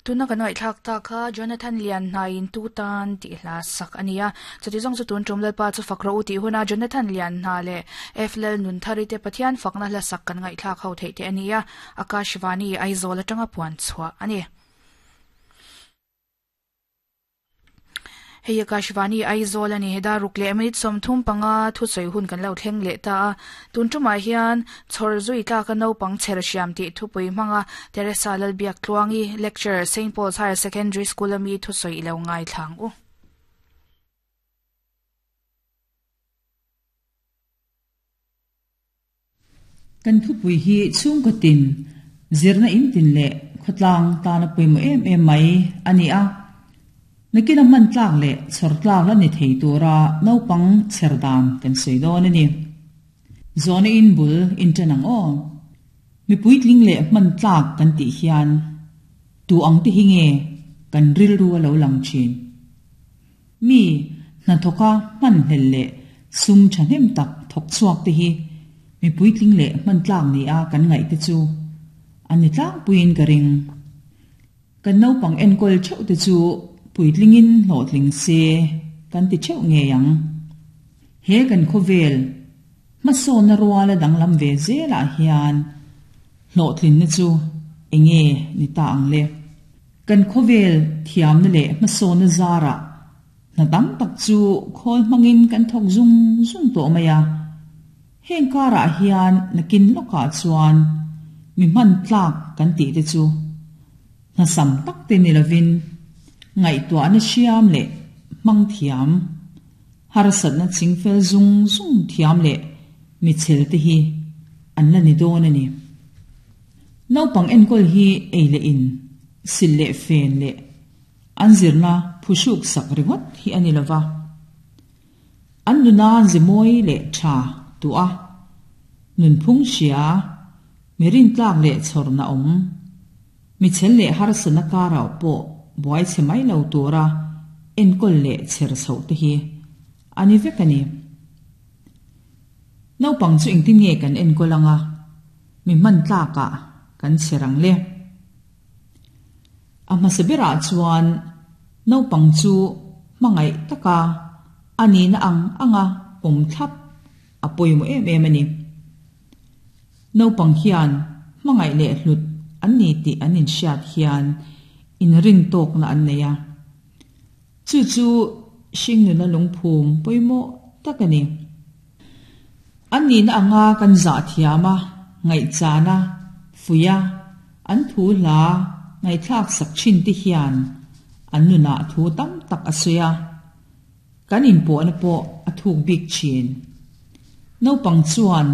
Tuna kan ngaihthlak ta kha Jonathan Lian hnaiin tu tan tih hla sak a ni a. Chuti zawng chu tun tum Lalpa chu fak rawh u tih huna Jonathan Lian hna leh F Lalnunthari te Pathian fakna hla sak kan ngaihthlak ho theih te a ni a. Akashvani Aizawl atanga puan chhuah a ni. Hei Akashvani Aizawl a ni. Heda ruk leh minute 35 thusawi hun kan lo thleng leh ta a. Tun tumah hian chhawr zui tlaka naupang chher hriam tih thupui hmanga Teresa Lalbiak Tluangi lecture Saint Paul's Higher Secondary School a mi thusawi i lo ngaithlang u. Kan thupui hi chhungkaw tin, zirna in tin leh khawtlang tana pawimawh em em mai a ni a. Nakin a hman tlak leh chhawr tlak la ni thei tura naupang chher dan kan sawi dawn a ni. Zawhna in bul in ṭan ang aw. Mi puitling leh hman tlak kan tih hian tu ang te hi nge kan rilru a lo lang ṭhin? Mi hnathawka hmanhlel leh sum thahnem tak thawk chhuak te hi mi puitling leh hman tlak ni a kan ngaih te chu an ni tlangpuiin ka ring. Kan naupang enkawl theuh te chu puitlingin hlawhtling se kan ti theuh ngei ang. He kan khawvel hmasawnna ruala danglam ve zelah hian hlawhtlinna chu enge ni ta ang le? Kan khawvel thiamna leh hmasawnna zarah hna tam tak chu khawl hmangin kan thawk zung zung tawh mai a. Heng karah hian nakin lawkah chuan mi hman tlak kan tih te chu hna sam tak te ni lovin ngaihtuahna hriam leh hmang thiam, harsatna chingfel zung zung thiam leh michhel te hi an la ni dawn a ni. Naupang enkawl hi ei leh in, sil leh fen leh an zirna phuhruk sak ringawt hi a ni lova. An nuna zimawi leh tha tuah, nunphung hria, mi rintlak leh chhawrna awm, mi chhel leh harsatna karah pawh buai chhe mai lo tura enkawl leh chher chhoh te hi a ni vek a ni. Naupang chu engtin nge kan enkawl anga mi hman tlakah kan chher ang le? A hmasa berah chuan naupang chu hmangaih taka a nihna ang anga pawm thlap a pawimawh em em a ni. Naupang hian hmangaih leh hlut an ni tih an inhriat hian inrintawkna an nei a. Chu chu hringnuna lungphum pawimawh tak a ni. An nihna anga kan zah thiam a, ngaihchan a, fuih a, an thu hla ngaihthlak sak thin te hian an nunah thu tam tak a sawi a, kan inpawhna pawh a thuk bik thin. Naupang chuan